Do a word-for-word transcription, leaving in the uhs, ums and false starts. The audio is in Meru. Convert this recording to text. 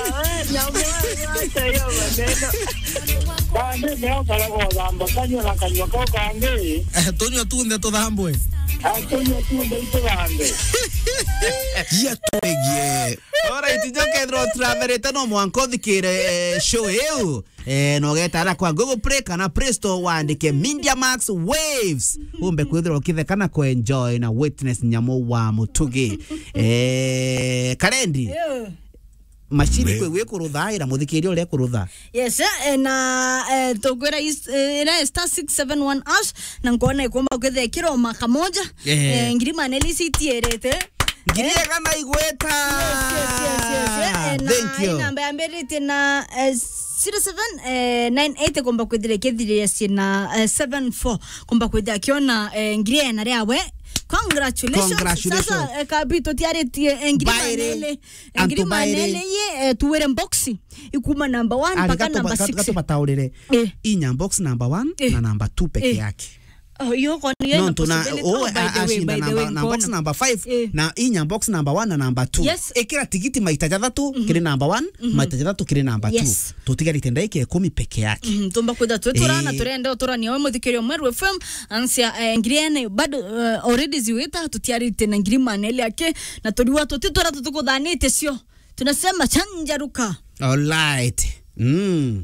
Eh, nyamwe, acha hiyo maneno. Bande, ndio karago thamba kanywa na kanywa kau kangi. Eh, tunywa tunthe tuthambwe. Ah, tunywa tunthe ituthambe. Gia twegie. Alright, njo kethirwa uturamerete no mwanka uthikire, eh, show iu. Eh, no getara kwa Google Play kana Play Store wandike Media Max Waves. Umbe kwithirwa ukitheka na kuenjoy na witness nyamu wa mutugi. Eh, Karendi. Yeah. Machine kwe wi kurutha, ira muthikiria uria kurutha. Yes, eh, na, eh, tukwira is-, eh, ira star six seven one hash, na nkona ikomba kwithekirwo maka moja. Eh. Eh, ngiri maneli citiirite. Ngiri igana igweta. Yes, yes, yes, yes, yes. Eh, na Thank you. Namba yambiritie na, eh, zero seven, eh, nine eight komba kwithira ikithiria ciina, eh, seven four. Komba kwithira akiona, eh, ngiri ena riawe. Congratulations. Congratulations. Sasa, eh, kabi tutiaritie, eh, ngiri Bairi. Maneli. Antu Ngiri bairi. Maneli ye, eh, tuwire box. Ikuma number one Ah, mpaka gatu number ba-, six. Gatu bataurire. Eh. Inya box number one Eh. Na number two peke Eh. Yake. Oh, yo kwa ni No, na ntuna, possibility. Oh, oh, by the way, ashinda by the number, way, na box nkona. Number five, Eh. Na inya box number one na number two. Yes. Ikira tigiti maita jathatu Mhm. Kiri number one, Mhm. Maita jathatu kiri number two. Yes. Tutigarite ndaika ikumi peke yake. Mhm, tumba kwitha twi turana Eh. Turenda uturania we muthikiria Meru F M, ansia, eh, ngiri ene, bado, eh, already ziwita, tutiarite na ngiri maneli yake, na turiwa tuti tura tutukuthanite cio. Tunasema chanjaruka. Alright. Mm.